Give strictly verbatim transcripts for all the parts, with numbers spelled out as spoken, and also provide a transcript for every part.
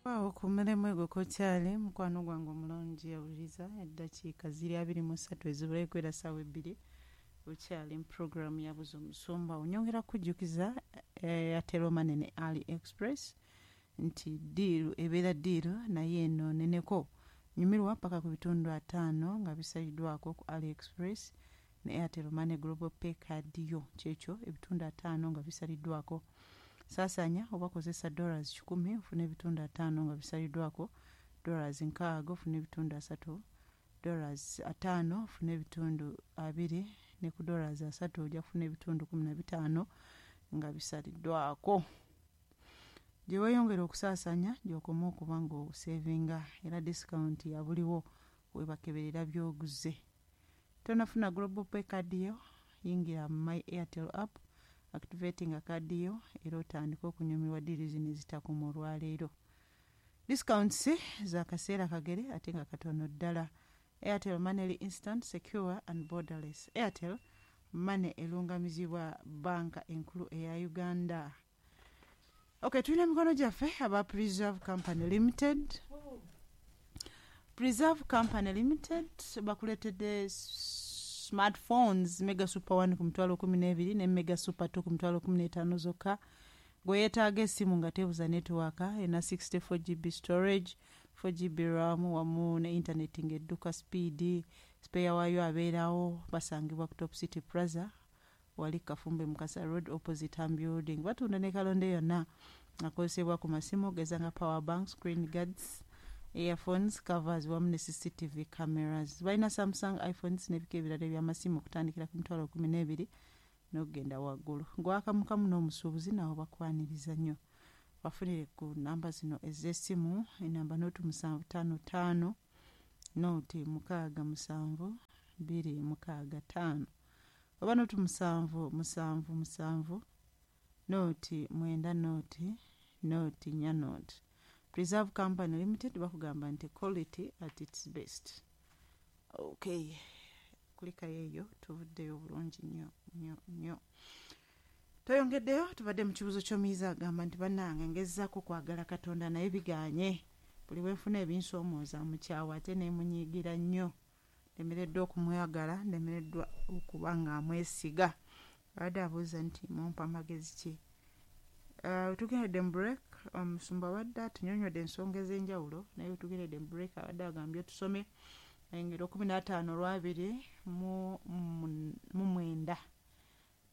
Awo ku mulimu egwo kokyali mukwano gwange omulungi awuliriza eddakiika ziri abiri mu ssatu ezibulayo kwera ssaawa ebbiri okyali mu puroguramu ya Buza Omusumba. Onyongera kujjukiza Airtel Money ne Ali Express nti ddiiru ebeera ddiiru naye eno neneko nyumirwa paka ku bitundu ataano nga bisaliddwako ku Ali Express ne Airtel Money Global Pay card yo kyekyo ebitundu ataano nga bisaliddwako. Saasanya oba kozesa dollars kikumi ofuna ebitundu ataano nga bisaliddwako, dollars nkaaga ofuna ebitundu asatu, dollars ataano ofuna ebitundu abiri, ne ku dollars asatu ojja kufuna ebitundu kumi na bitaano nga bisaliddwako. Gye weeyongera okusaasanya gy'okoma okuba ng'osevinga era discount ya buliwo webakeberera by'oguze. Tonafuna Global Pay card yo, yingira mu My Airtel app, activating card yo era otandike okunyumirwa ddiiru zino ezitakoma olwaleero. Discounts za kaseera kagere ate nga katono ddala. Airtel Money instant, secure and borderless. Airtel Money erungamizibwa banka enkulu eya Uganda. Okay, tulina emikono gyaffe aba Preserve Company Limited. Preserve Company Limited bakuleetedde smartphones Mega Super one ku mitwalo kumi n'ebiri ne Mega Super two ku mitwalo kumi n'etaano zokka. Gwe yeetaaga essimu nga tebuza network ena sixty four G B storage, four G B RAM wamu ne internet ng'edduka speed, spare waayo abeerawo. Basangibwa ku Top City Plaza wali Kafumbe Mukasa Road opposite Ham Building. Batunda ne kalonde yonna akozesebwa ku masimu ogeza nga power bank, screen guards, earphones, covers wamu ne C C T V cameras. Balina Samsung, iPhones n'ebika ebirala ebyamasimu okutandikira ku mitwalo kumi n'ebiri n'okugenda waggulu. Gwakamukamu n'omusuubuzi nawo bakwaniriza nnyo. Bafunire ku namba zino ez'essimu: enamba nooti musanvu ttaano ttaano nooti mukaaga musanvu bbiri mukaaga ttaano oba nooti musanvu musanvu musanvu nooti mwenda nooti nooti nnya nooti. Preserve Company Limited bakugamba nti quality at its best. Okay, kulikayo eyo tuvuddeyo bulungi nnyo nnyo nnyo. Toyongeddeyo tubadde mu kibuzo ky'omuyizi agamba nti bannange ngezaako kwagala Katonda naye biganye, buli bwenfuna ebinsoomooza mukyawa ate nemunyiigira nnyo, ndemereddwa okumwagala, ndemereddwa okuba nga amwesiga. Abadde abuuza nti mumpa amagezi ki? Uh, tugendedde mu break, omusumba abadde atunyonyodde ensonga ez'enjawulo, naye tugendedde mu break abadde agambye tusome engero kumi n'ataano olwabiri mu mu mwenda,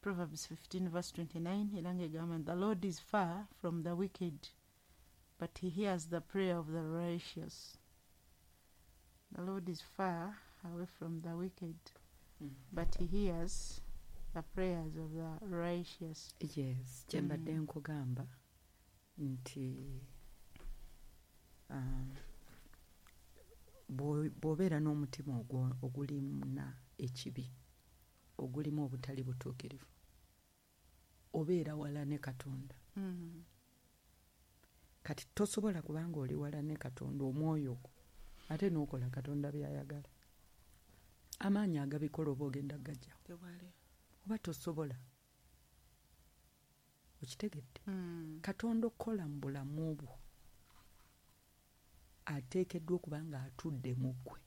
Proverbs fifteen verse twenty-nine, era ng'egamba, "The Lord is far from the wicked, but he hears the prayer of the righteous." The Lord is far away from the wicked, mm. but he hears the prayers of the righteous. Yes, kyembadde mm. nkugamba nti um, bw'obeera n'omutima ogulimuna ekibi, ogulimu obutali butuukirivu, obeera wala ne Katonda. mm. Kati tosobola kubanga oli wala ne Katonda, omwoyo gwo ate n'okola Katonda byayagala. Amaanyi agabikola oba ogenda gajjawo oba tosobola. Okitegedde? mm. Katonda okukola mu bulamu bwo ateekeddwa okuba nga atudde mu ggwe.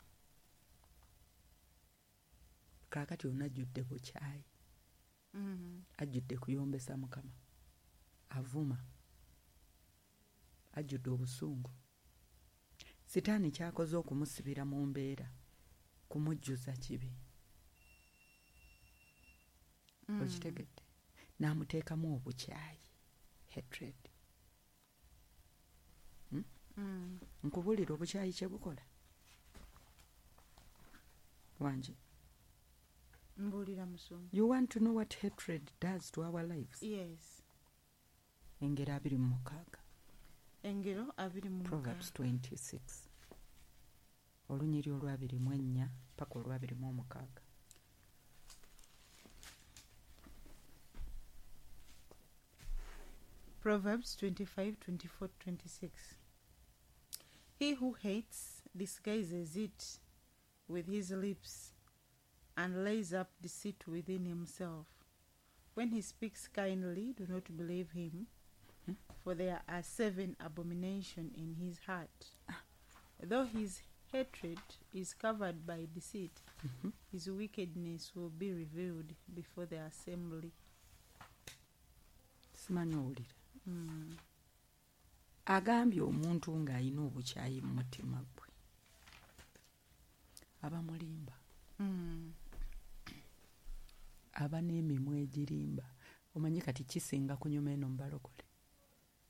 Kaakati ono ajjudde bukyayi, mm. ajjudde kuyombesa Mukama, avuma, ajjudde obusungu. Sitaani kyakoze okumusibira mu mbeera kumujjuza kibi. mm. Okitegedde? N'amuteekamu obukyayi, hatred. hmm? mm. Nkubuulira obukyayi kye bukola wangi. Mbuulira, musumba. You want to know what hatred does to our lives? Yes. Engero abiri mu mukaaga. Engero abiri mu Proverbs twenty-six, olunyiri olwabiri mu ennya paka olwabiri mu omukaaga. Proverbs twenty-five, twenty-four, twenty-six. He who hates disguises it with his lips and lays up deceit within himself. When he speaks kindly, do not believe him, For there are seven abominations in his heart. Though his hatred is covered by deceit, Mhm. his wickedness will be revealed before the assembly. Simanyi owulira. Mm. Agambye omuntu ng'alina obukyayi mu mutima gwe aba mulimba. Mm. Aba n'emimwa egirimba. Omanyi kati kisinga kunyuma eno mubalokole,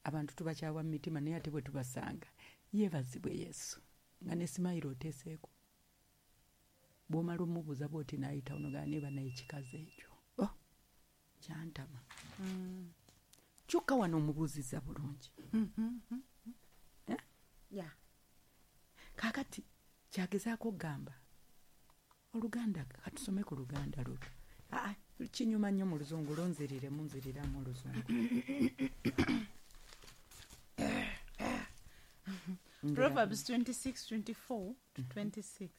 abantu tubakyawa mu mitima, naye ate bwe tubasanga, yeebazibwe Yesu, nga ne smile oteeseeko. Bw'omala omubuuza bw'oti n'ayitawo nogaa neba naye ekikazi ekyo, oh, kyantama. Mm. Kyokka wano omubuuzizza bulungi. Eh? Yeah. Kaakati kyagezaako okugamba oluganda, katusome ku luganda luno. Aa, kinyuma nnyo mu luzungu, lunziriremu, nziriramu oluzungu. Proverbs twenty-six twenty-four to twenty-six.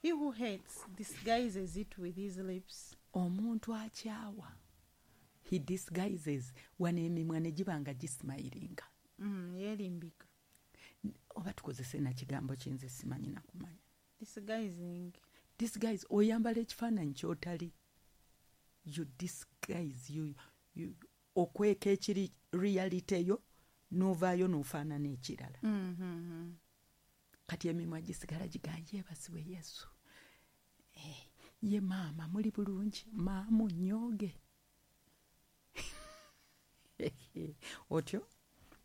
He who hates disguises it with his lips. Omuntu akyawa, he disguises, wano emimwa ne giba nga gismilinga. Mm, yerimbika. Oba tukozese nakigambo kinze simanyi nakumanya. Disguising. Disguise, oyambala ekifaananyi ky'otali. You disguise, you, you, okweka ekiri reality yo, n'ovaayo n'ofaanana ekirala. Mm-hmm. Kati emimwa gisigala gigamba yeebazibwe Yesu. Eh, ye maama muli bulungi, maamu nnyooge. Otyo?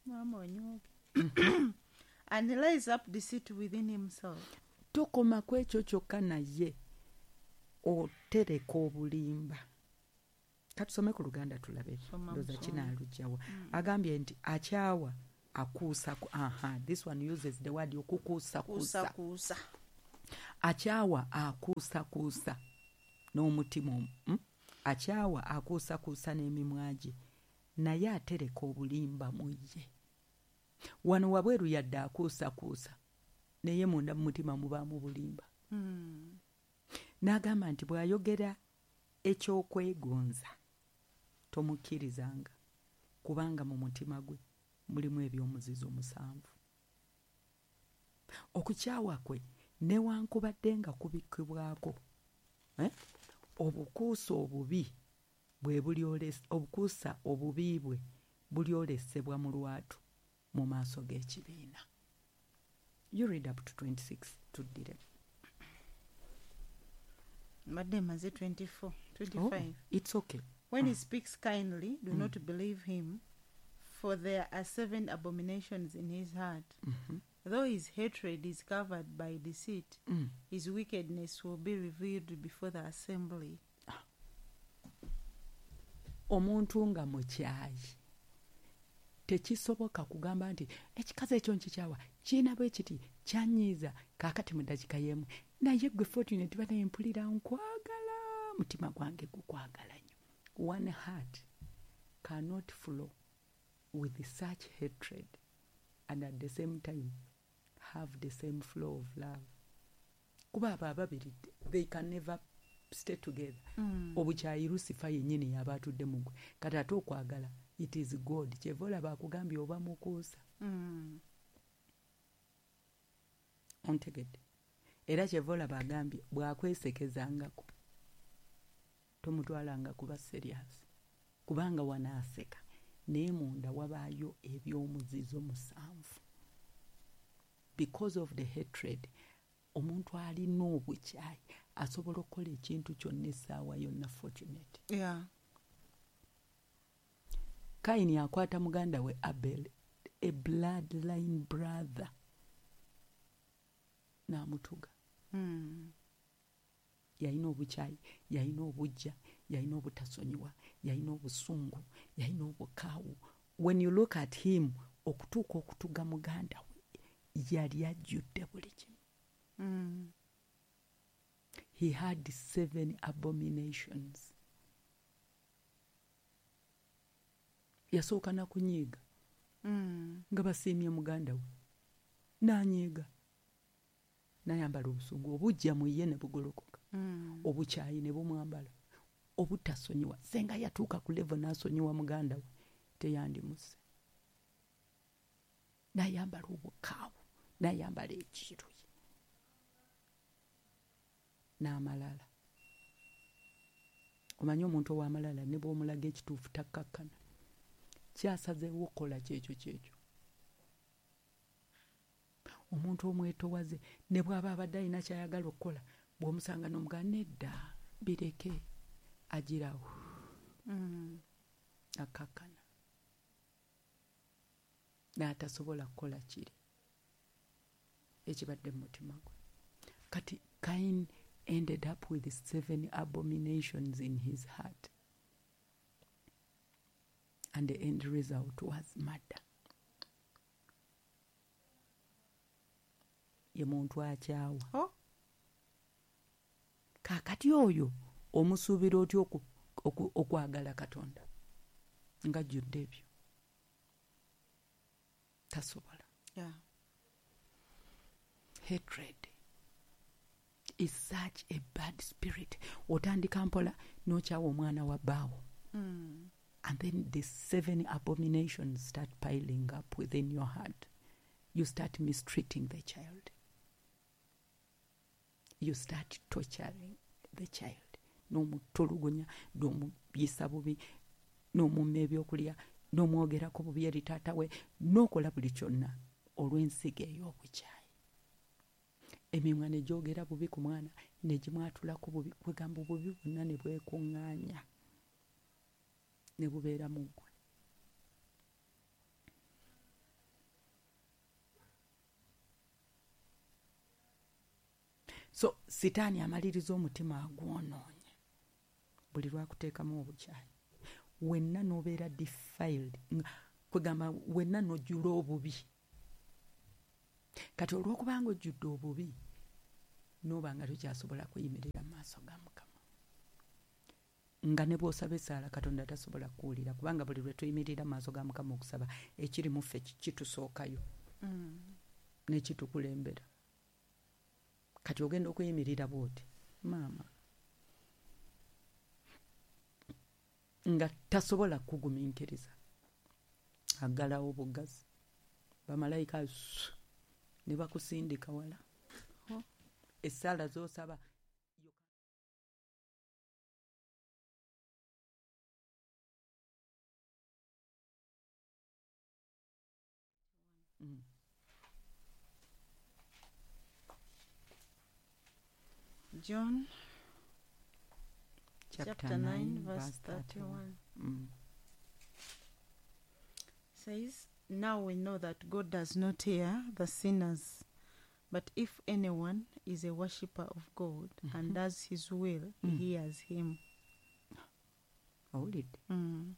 Maama onyooge. And he lays up deceit within himself. Tokoma ku ekyo kyokka, naye otereka obulimba. Katusome ku luganda tulabe. Soma. Ndoza Musome. kinaalugyawa. Agambye nti akyawa akuusa ku, aha, this one uses the word okukuusakuusa. Kuusa kuusa. Akyawa akuusakuusa n'omutima omu, mm? Akyawa akuusakuusa n'emimwa gye, naye atereka obulimba mu ye. Wano wabweru yadde akuusakuusa, naye munda mu mutima mubaamu bulimba. Mm. N'agamba nti bw'ayogera ekyokwegonza tomukkirizanga, kubanga mu mutima gwe mulimu ebyomuzizo musanvu. Okukyawa kwe newankubadde nga kubikkibwako, eh? Obukuusa obubi bwe bulyolesa, obukuusa obubi bwe bulyolesebwa mu lwatu mu maaso g'ekibiina. You read up to twenty-six, tuddire. Mbadde maze twenty-four, twenty-five. Oh, it's okay. When he speaks kindly, do not believe him, for there are seven abominations in his heart. Mhm. Though his hatred is covered by deceit, Mm. his wickedness will be revealed before the assembly. Omuntu nga mukyayi tekisoboka kugamba nti ekikazi ekyo nkikyawa, kiina bwe kiti, kyanyiiza, kaakati mu ddakiika y'emu naye gwe Fortunate banaye mpulira nkwagala, mutima gwange gukwagala nnyo. One heart cannot flow with such hatred and at the same time have the same flow of love, kuba abo ababiri they can never stay together. Mm. Obukyayi Lusifa yennyini yaba atudde mu gwe, kati ate okwagala it is God. Kyeva olaba akugambye oba mukuusa. Mm. Ontegedde? Era kyeva olaba agambye bw'akwesekezangako tomutwalanga kuba serious, kubanga wanaaseka naye munda wabaayo ebyomuzizo musanvu because of the hatred. Omuntu alina obukyayi asobola okukola ekintu kyonna essaawa yonna, Fortunate. Yeah. Kaini akwata muganda we Abel, a bloodline brother, n'amutuga. Mm. Yalina obukyayi, yalina obujja, yalina obutasonyiwa, yalina obusungu, yalina obukaawu. When you look at him, okutuuka okutuga muganda we, yali ajjudde buli kimu. Mm. He had seven abominations. Yasooka na kunyiiga. Mm. Nga basiimye muganda we n'anyiiga, n'ayambala obusungu, obujja mu ye ne bugolokoka. Mm. Obukyayi ne bumwambala, obutasonyiwa. Senga yatuuka ku level n'asonyiwa muganda we, teyandimuse. N'ayambala obukaawu, n'ayambala ekiruyi n'amalala. Omanyi omuntu ow'amalala ne bw'omulaga ekituufu takkakkana, kyasazeewo okukola kyekyo kyekyo. Omuntu omwetowaze ne bw'aba abadde alina ky'ayagala okukola, bw'omusanga n'omugamba nedda bireke, agirawo Mm. akkakkana n'atasobola kukola kiri ekibadde mu mutima gwe. Kati Cain ended up with seven abominations in his heart, and the end result was murder. Ye muntu akyawa. Oh. Kaakati oyo omusuubira otya oku- oku- okwagala Katonda ng'ajjudde ebyo? Tasobola. Yeah. Hatred is such a bad spirit. Otandika mpola n'okyawa omwana wa bbaawo. Mm. And then the seven abominations start piling up within your heart. You start mistreating the child. You start torturing the child. N'omutulugunya, n'omuyisa bubi, n'omumma ebyokulya, n'omwogerako bubi eri taata we, n'okola buli kyonna olw'ensigo ey'obukyayi. Emimwa ne gyogera bubi ku mwana, ne gimwatulako bubi, kwegamba obubi bwonna ne bwekuŋŋaanya ne bubeera mu ggwe. So sitaani amaliriza omutima agwonoonye buli lwakuteekamu obukyayi, wenna n'obeera defiled, nga- kwegamba wenna n'ojjula obubi. Kati olw'okubanga ojjudde obubi, n'oba nga tokyasobola kuyimirira mu maaso ga Mukama, nga ne bw'osaba essaala Katonda tasobola kukuwulira, kubanga buli lwe tuyimirira mu maaso ga Mukama okusaba, ekiri mu ffe kitusookayo Mm. n'ekitukulembera. Kati ogenda okuyimirira bw'oti, maama nga tasobola kugumiikiriza, aggalawo bugazi, bamalayika ssu, ne bakusindika wala. Oh. Essaala z'osaba Mm. John Chapter chapter nine, nine, verse verse thirty-one. thirty-one Mm. says, Now we know that God does not hear the sinners, but if anyone is a worshipper of God and does his will, he Mm. hears him. Owulidde? Mm.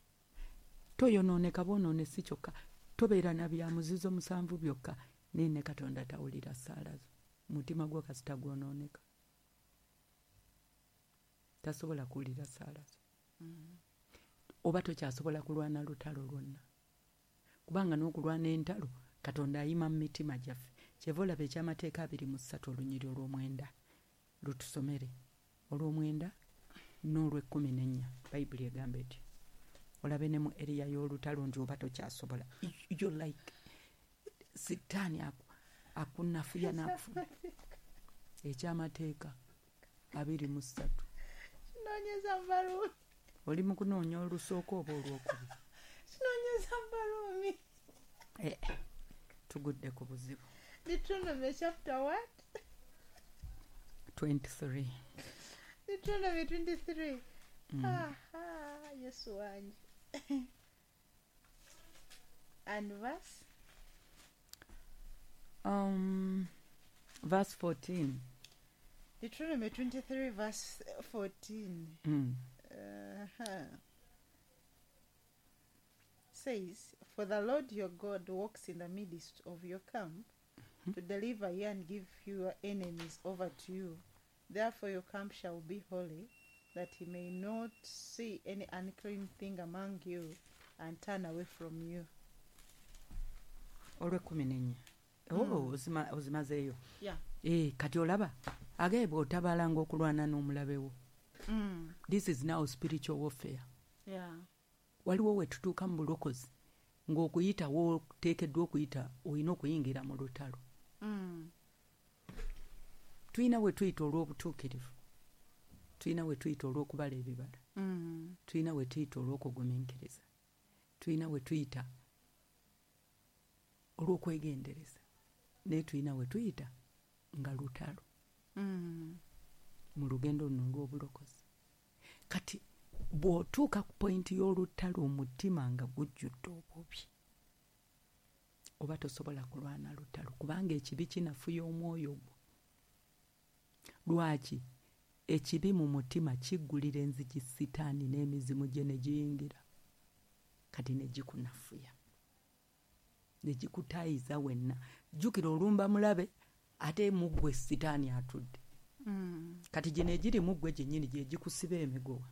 Toyonooneka bwonoone si kyokka, tobeera na bya muzizo musanvu byokka, naye ne Katonda tawulira ssaala zo. Mutima gwo kasita gwonooneka, tasobola kuwulira ssaala zo. Oba tokyasobola kulwana lutalo lwonna, kubanga n'okulwana entalo Katonda ayima mu mitima gyaffe. Kyeva olaba ekyamateeka abiri mu ssatu olunyiri olw'omwenda lutusomere, olw'omwenda n'olw'ekkumi n'ennya, Bayibuli egamba eti. Olabe ne mu eriya y'olutalo nti oba tokyasobola, you're like sitaani aku- akunafuya n'akufuna. Ekyamateeka abiri mu ssatu. Kinoonyeza Baruumi. Oli mu kunoonya olusooka oba olwokubiri? Kinoonyeza Baruumi. Eh, tugudde ku buzibu. Deuteronomy chapter what? twenty-three. Deuteronomy twenty-three. Mm. Aha, Yesu wange. And verse? Um, verse fourteen. Deuteronomy twenty-three verse fourteen. Mm. Uh-huh. Says, For the Lord your God walks in the midst of your camp to deliver you and give your enemies over to you. Therefore your camp shall be holy, that he may not see any unclean thing among you and turn away from you. Olw'ekkumi n'ennya. Oh, ozima- ozimazeeyo. Yeah. Eh, kati olaba agaye bw'otabalanga okulwana n'omulabe wo. Mm. This is now spiritual warfare. Yeah. Waliwo we tutuuka mu bulokozi Ng'okuyita w'oteekeddwa okuyita olina okuyingira mu lutalo. Mm. Tulina we tuyita olw'obutuukirivu, tulina we tuyita olw'okubala ebibala, Mm. tulina we tuyita olw'okugumiikiriza, tulina we tuyita olw'okwegendereza, naye tulina we tuyita nga lutalo. Mm. Mu lugendo luno olw'obulokozi. Kati bw'otuuka ku pointi y'olutalo omutima nga gujjudde obubi, oba tosobola kulwana lutalo kubanga ekibi kinafuya omwoyo gwo. Lwaki? Ekibi mu mutima kiggulira enzigi sitaani n'emizimu gye ne giyingira, kati ne gikunafuya, ne gikutaayiza wenna. Jjukira olumba mulabe ate mu ggwe sitaani atudde. Mm. Kati gino egiri mu ggwe gyennyini gye gikusiba emiguwa,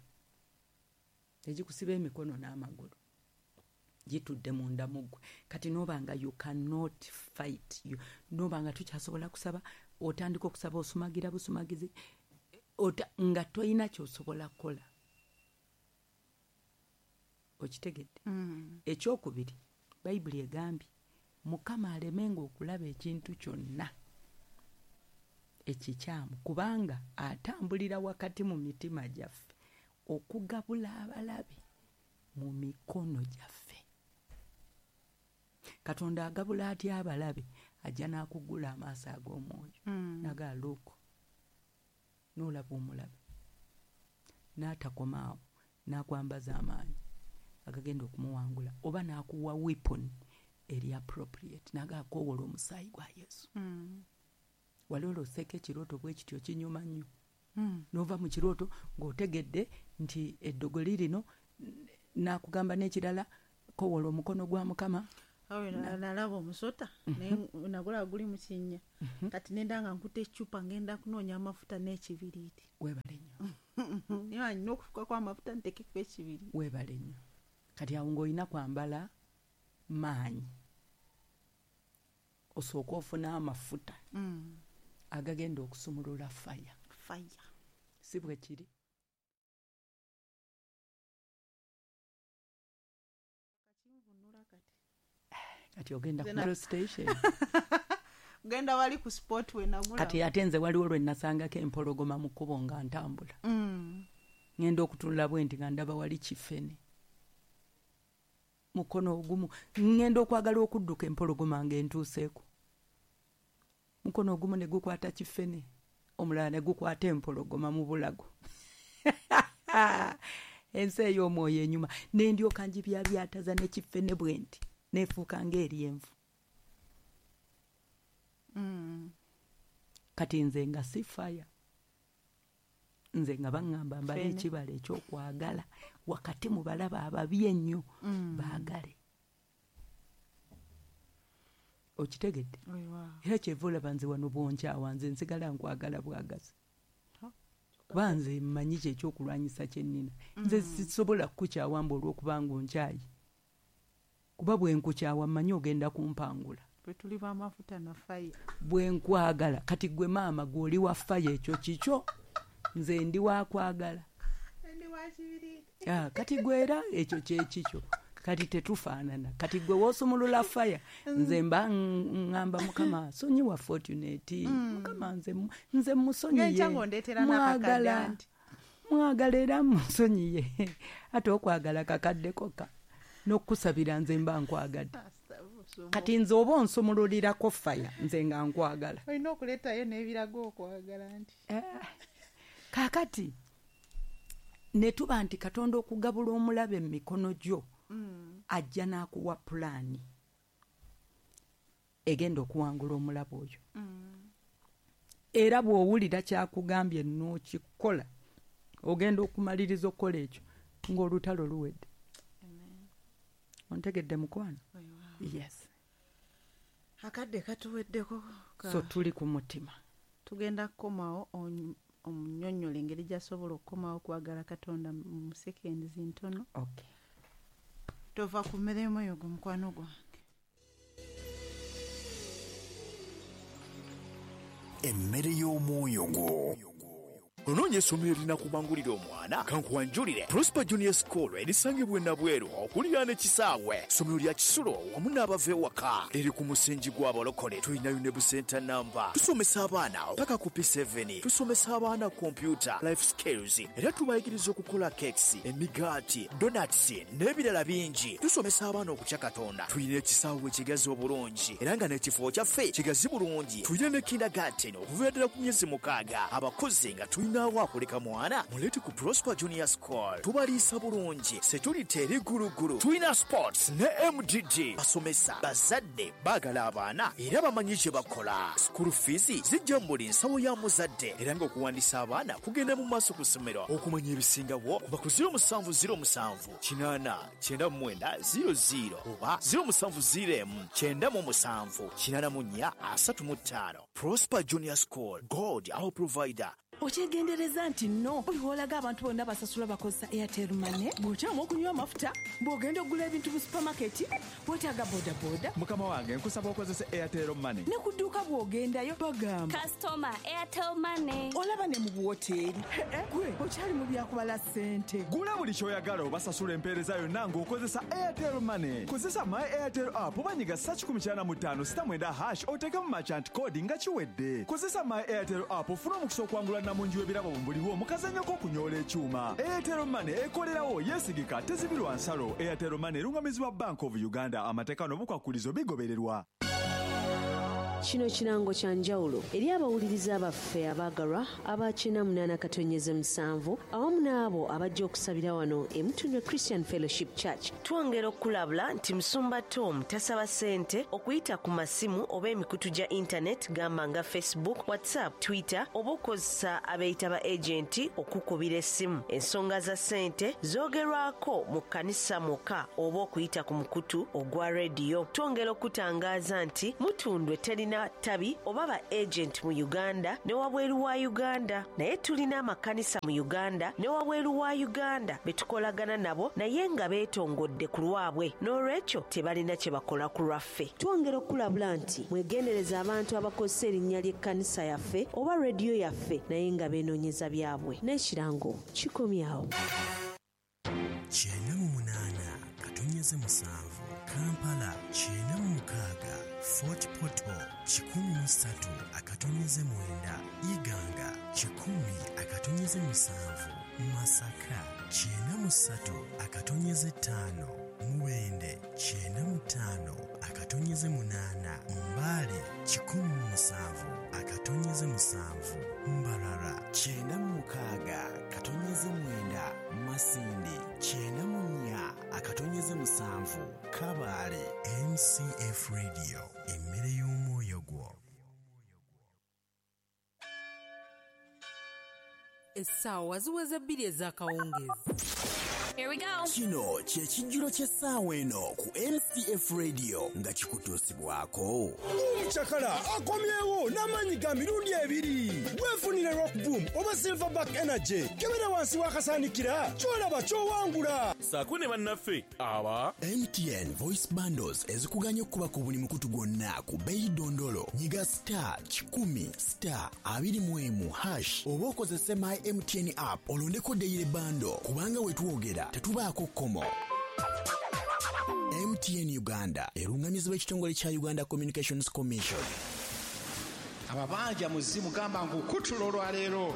egikusiba emikono n'amagulu, gitudde munda mu ggwe. Kati n'oba nga you cannot fight, you, n'oba nga tukyasobola kusaba, otandika okusaba osumagira busumagizi, ota, nga toyina ky'osobola kukola. Okitegedde? Mm. Ekyokubiri, Bayibuli egambye Mukama alemenga okulaba ekintu kyonna ekikyamu, kubanga atambulira wakati mu mitima gyaffe okugabula abalabe mu mikono gyaffe. Katonda agabula atya abalabe? Ajja n'akugula amaaso ag'omwoyo. Mm. Naga look, n'olaba omulabe, n'atakoma awo, n'akwambaza amaanyi agagenda okumuwangula, oba n'akuwa weapon eri appropriate, naga akoowola omusaayi gwa Yesu. Mm. Wali oloseko ekirooto bwe kityo kinyuma nnyo. Mm. N'ova mu kirooto ng'otegedde nti eddogo lirino, n'akugamba n'ekirala, koowola omukono gwa Mukama. Awe na- nalaba omusota, naye nagulaba guli mu kinnya. Kati nenda nga nkutte eccupa ngenda kunoonya amafuta n'ekibiriiti. Weebale nnyo. Naye nina okufukako amafuta nteekeko ekibiriiti. Weebale nnyo. Kati awo ng'olina kwambala maanyi, osooke ofune amafuta Mm. agagenda okusumulula fire. Fire. Si bwe kiri? Kakinvunula kati. Kati ogenda ku Nze na- petrol station. Genda wali ku spot we nagula. Kati ate nze waliwo lwe nasangako empologoma mu kkubo nga ntambula. Mm. Ngenda okutunula bwe nti nga ndaba wali kifene. Mukono ogumu ngenda okwagala okudduka empologoma ng'entuuseeko. Mukono ogumu ne gukwata kifene, omulala ne gukwata empologoma mu bulago. Ensi ey'omwoyo enyuma. Ne ndyoka ngibyabyataza ne kifene bwe nti, neefuuka ng'eryenvu. Mm. Kati nze nga si fire. Nze nga baŋŋamba mbale Fene. ekibala ekyokwagala wakati mu balaba ababi ennyo Mm. baagale. Okitegedde? Weewaawo. Era kyeva olaba nze wano bw'onkyawa, nze nsigala nkwagala bwagazi. Ha. Kuba nze mmanyi ki ekyokulwanyisa kye nnina. Nze sisobola kukukyawa mbu olw'okubanga onkyayi. Kuba bwe nkukyawa mmanyi ogenda kumpangula. Bwe tuli b'amafuta na fire. Bwe nkwagala, kati gwe maama gw'oli wa fire ekyo kikyo, nze ndi wa kwagala. Ndi wa kibiriiti. Ah, kati gwe era ekyo kye kikyo. Kati tetufaanana. Kati gwe w'osumulula fire, nze mba ŋŋamba Mukama sonyiwa Fortunate. Mukama nze mu-, nze musonyiye. Ng'enkya ng'ondeetera n'akakadde Mwagala. anti. Mwagala era musonyiye. Ate okwagala kakadde kokka. N'okusabira nze mba nkwagadde. Kati nze oba onsumululirako fire, nze nga nkwagala. Olina okuleetayo n'ebiraga okwagala nti. Eh, kaakati ne tuba nti Katonda okugabula omulabe mu mikono gyo, Mm. ajja n'akuwa pulaani egenda okuwangula omulabe oyo. Mm. Era bw'owulira kyakugambye n'okikola, ogenda okumaliriza okukola ekyo ng'olutalo luwedde. Amen. Ontegedde mukwano? Weewaawo. Yes. Akadde katuweddeko ka- So tuli ku mutima. Tugenda kukomawo onyu-, omunnyonnyole engeri gy'asobola okukomawo okwagala Katonda mu seconds ntono. Okay. Tova ku mmere y'omwoyo gwo mukwano gwange. Emmere y'omwoyo gwo. Onoonya essomero erinakubangulira omwana? Kankuwanjulire Prosper Junior School erisangibwa e Nabweru okuliraana ekisaawe. Ssomero lya kisulo wamu n'abava ewaka, liri ku musingi gw'abalokole. Tulinayo ne busenta namba. Tusomesa abaana paka ku P seven. Tusomesa abaana computer, life skills, era tubayigiriza okukola cakes, emigaati, donuts n'ebirala bingi. Tusomesa abaana okutya Katonda. Tulina ekisaawe ekigazi obulungi era nga n'ekifo kyaffe kigazi bulungi. Tulina ne kindergarten okuviira ddala ku myezi mukaaga. Abakozi nga tulinawo akuleka mwana, muleete ku Prosper Junior School. Tubaliisa bulungi, security eri gulugulu. Tulina sports ne M D D. Basomesa bazadde baagala abaana era bamanyi kye bakola. School fees zijja mu buli nsawo ya muzadde era ng'okuwandiisa abaana kugenda mu maaso ku ssomero. Okumanya ebisingawo kuba ku zero musanvu zero musanvu kinaana kyenda mu mwenda zero zero oba zero musanvu zero emu kyenda mu musanvu kinaana mu nnya asatu mu ttaano. Prosper Junior School, God our provider. Okyegendereza nti nno buli lw'olaga abantu bonna basasula bakozesa Airtel Money, bw'okyama okunywa amafuta, bw'ogenda okugula ebintu mu supamaketi, weetaaga bodaboda. Mukama wange nkusaba okozese Airtel Money. Ne ku dduuka bw'ogendayo bagamba Customer Airtel Money. Olaba ne mu buwoteeri. Gwe okyali mu byakubala ssente. Gula buli ky'oyagala obasasula empeereza yonna ng'okozesa Airtel Money. Kozesa My Airtel app oba nyiga star kikumi kyana mu ttaano sita mwenda hash oteekemu merchant code nga kiwedde. Kozesa My Airtel app ofune omukisa okwangula namungi w'ebirabo mu buliwo mu kazannyo k'okunyoola ekyuma. Airtel Money ekolerawo, yeesigika, tezibirwa nsalo. Airtel Money erungamizibwa Bank of Uganda. Amateeka n'obukwakulizo bigobererwa. Kino kirango kya njawulo eri abawuliriza baffe abaagalwa aba kyenda munaana katonyeze musanvu awamu n'abo abajja okusabira wano e Mutundwe Christian Fellowship Church. Twongera okulabula nti Musumba Tom tasaba ssente okuyita ku masimu oba emikutu gya internet gamba nga Facebook, WhatsApp, Twitter oba okukozesa abeeyita ba agenti okukubira essimu. Ensonga za ssente zoogerwako mu kkanisa mwokka oba okuyita ku mukutu ogwa rediyo. Twongera okutangaaza nti Mutundwe terina tabi oba ba agent mu Uganda ne wabweru wa Uganda, naye tulina amakanisa mu Uganda ne wabweru wa Uganda betukolagana nabo naye nga beetongodde ku lwabwe, n'olwekyo tebalina kye bakola ku lwaffe. Twongera okulabula nti mwegendereza abantu abakozesa erinnya ly'ekkanisa yaffe oba rediyo yaffe naye nga beenoonyeza byabwe. N'ekirango kikomyawo. Kyenda mu munaana katonyeze musanvu Kampala, kyenda mu mukaaga Fort Portal, kikumi mu ssatu akatonyeze mwenda Iganga, kikumi akatonyeze musanvu Masaka, kyenda mu ssatu akatonyeze ttaano Mubende, kyenda mu ttaano akatonyeze munaana Mbale, kikumi mu musanvu akatonyeze musanvu Mbarara, kyenda mu mukaaga katonyeze mwenda Masindi, kyenda mu nnya akatonyeze musanvu Kabale. M C F Radio, emmere y'omwoyo gwo. Essaawa ziweze bbiri ez'akawungeezi. Here we go. Kino kye kijjulo ky'essaawa eno ku M C F Radio nga kikutuusibwako. Chakala akomyewo n'amaanyi ga mirundi ebiri. Weefunire Rock Boom oba Silverback Energy. Kebera wansi w'akasaanikira ky'olaba ky'owangula. Saako ne bannaffe aba M T N Voice Bundles ezikuganya okuba ku buli mukutu gwonna ku bbeeyi dondolo. Nyiga star kikumi star abiri mu emu hash oba okozese My M T N app olondeko daily bundle kubanga we twogera tetubaako kkomo. M T N Uganda erungamizibwa ekitongole kya Uganda Communications Commission. Ababanja muzimu gamba ngukutula olwaleero.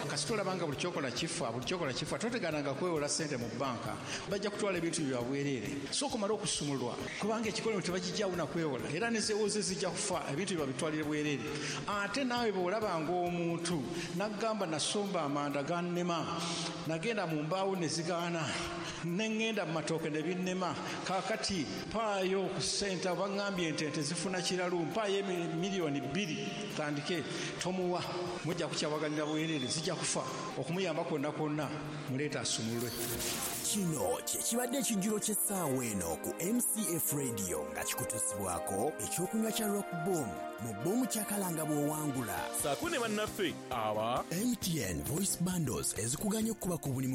Kasita olabanga buli kyokola kifa, buli kyokola kifa, totegananga kwewola ssente mu bbanka. Bajja kutwala ebintu bya bwereere. Sooka omale okusumulwa kubanga ekikolimo tebakijjawo na kwewola, era ne zeewoze zijja kufa, ebintu bye babitwalire bwereere. Ate naawe bw'olabanga omuntu n'agamba nasomba amanda gannema, nagenda mu mbaawo ne zigaana, ne ŋŋenda mu matooke ne binnema, kaakati mpaayo ku ssente, baŋŋambye ente ente zifuna kiralu, mpaayo miliyoni bbiri tandike, tomuwa, mujja kukyawaganira bwereere, zijja kufa. Okumuyamba kwonna kwonna muleeta asumulwe. Kino kye kibadde ekijjulo ky'essaawa eno ku M C F Radio nga kikutuusibwako ekyokunywa kya Rock Boom mu Boom Kyakalanga bw'owangula. Saako ne bannaffe aba M T N Voice Bundles ezikuganya okuba ku buli